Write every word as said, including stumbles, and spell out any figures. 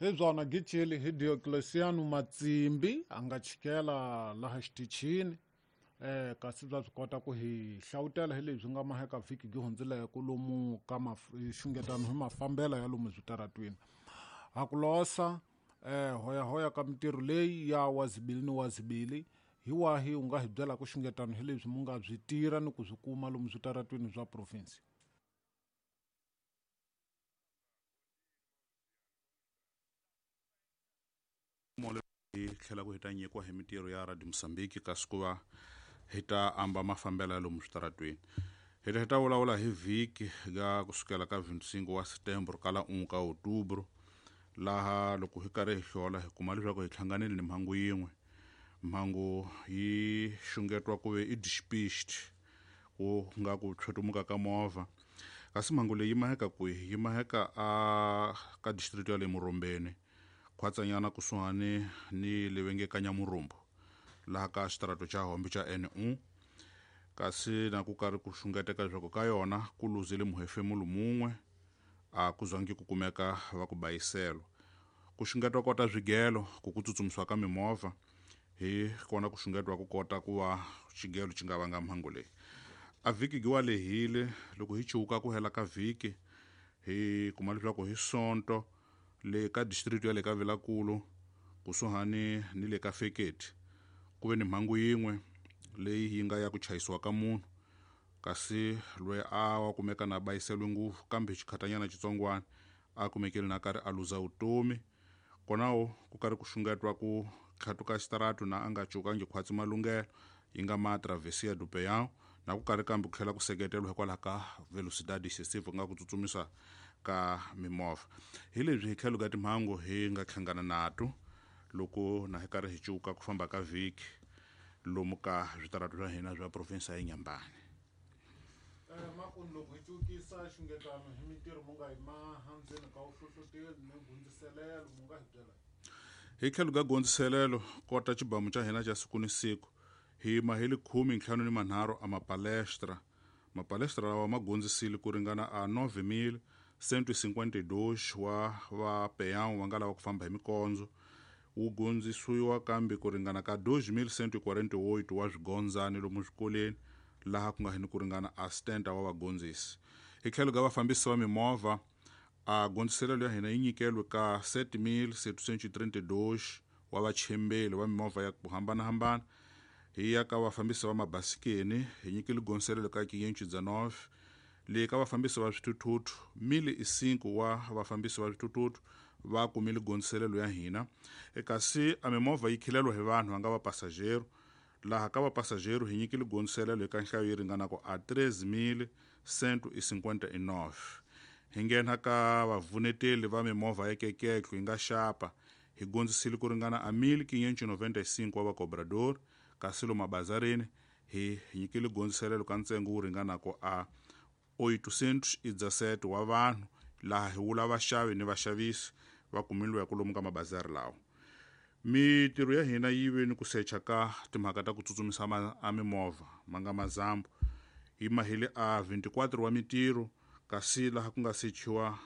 Hi byona Gichili hi Diocleciano Matsimbi a nga chikela laha xitichini eh kasi bya swi kota ku hi hlawutela hi leswi nga maheka vhiki gi hundzileke lomu ka xungetano hi mafambelo ya lomu switaratwini. Ha ku losa eh hoya hoya ka mintirho leyi ya wazibili ni wazibili hi wahi u nga hi byela ku xungetano hi leswi mu nga byi tirha ni ku swi kuma lomu switaratwini swa province. Hi tlhela ku hi ta nyikiwa hi mintirho ya Radio Mozambique kasi ku va hi ta amba mafambelo ya lomu switaratwini. Hi ta hi ta vulavula hi vhiki ga kusukela ka vinte e cinco wa setembro kala um ka outubro, laha loko hi karhi hi hlola hi kuma leswaku hi hlanganile ni mhangu yin'we. Mhangu yi xungetiwa ku ve i despiste, ku nga ku tshwetumuka ka movha, kasi mhangu leyi yi maheka kwihi? Yi maheka a ka district ya le Murombeni, khwatsanyana kusuhani ni le va nge ka Nyamurumbu, laha ka xitarato xa Hombe xa N un. Kasi na ku karhi ku xungeteka leswaku ka yona ku luzile muhefemulo mun'we, a ku zangi ku kumeka va ku bayiselo. Ku xungetiwa kota swigelo ku ku tsutsumisiwa ka mimovha, hi kona ku xungetiwa ku kota ku va xigelo xi nga vanga mhangu leyi. A vhiki gi wa lehile, loko hi chuka ku hela ka vhiki hi kuma leswaku hi sonto le ka district ya le ka Vilankulu kusuhani ni le ka Feketi ku ve ni mhangu yin'we leyi yi nga ya ku chayisiwa ka munhu, kasi loyi a wa kumeka na bayiseliwe ngopfu, kambe xikhatanyana xitsongwana a kumekile na karhi a luza vutomi. Konawo ku karhi ku xungetiwa ku tlhatuka xitaratu na a nga cukangi khwatsi malunghelo yi nga ma Travessia do Peão, na ku karhi kambe ku tlhela ku seketeriwa hikwalaho ka velocidade excessive, ku nga ku tsutsumisa ka mimovha. Hi leswi hi tlhelo ka timhangu hi nga hlangana nato loko na hi karhi hi cuka ku famba ka vhiki lomu ka switaratu swa hina swa province ya Inhambane. eh makuni loko hi cukisa xungetano hi mintirho mu nga yi maha ndzeni ka vuhlohloteli ni gundziselelo, mu nga hi byela? Hi tlhelo ka gondziselelo kota xibamu xa hina xa siku ni siku, hi maheli khume ntlhanu ni manharhu a mapalestra. Mapalestra lawa ma gondzisile ku ringana a nove mil cento e cinquenta e dois wa va peão va nga lava ku famba hi mikondzo. Wu gondzisiwa kambe ku ringana ka dois mil cento e quarenta e oito wa swigondzani lomu swikolweni, laha ku nga hini ku ringana a setenta wa vagondzisi. Hi tlhelo ka vafambisi va mimovha, a gondziselelo ya hina yi nyikeliwe ka sete mil setecentos e trinta e dois wa vachembeli va mimovha ya ku hambanahambana. Hi ya ka vafambisi va mabasikeni, hi nyikile gondziselelo ka quinhentos e dezenove. Le ka vafambisi va swithuthuthu, mil e cinco wa vafambisi va swithuthuthu va kumile gondziselelo ya hina. E kasi a mimovha yi khileliwa hi vanhu va nga va passageiro, laha ka vapassageiro hi nyikile gondziselelo eka nhlayo yi ringanaka a treze mil cento e cinquenta e nove. Hi nghena ka vavuneteli va mimovha ya keketlo yi nga xapa, hi gondzisile ku ringana a mil quinhentos e noventa e cinco wa vacobrador. Kasi lomu mabazarini hi nyikile gondziselelo ka ntsengo wu ringanaka a oitocentos e dezessete wa vanhu, laha hi vula vaxavi ni vaxavisi va kumiliweke lomu ka mabazari lawa. Mitirho ya hina yi ve ni ku secha ka timhaka ta ku tsutsumisa a mimovha ma nga mazambu, yi mahile a vinte e quatro wa mitirho, kasi laha ku nga sechiwa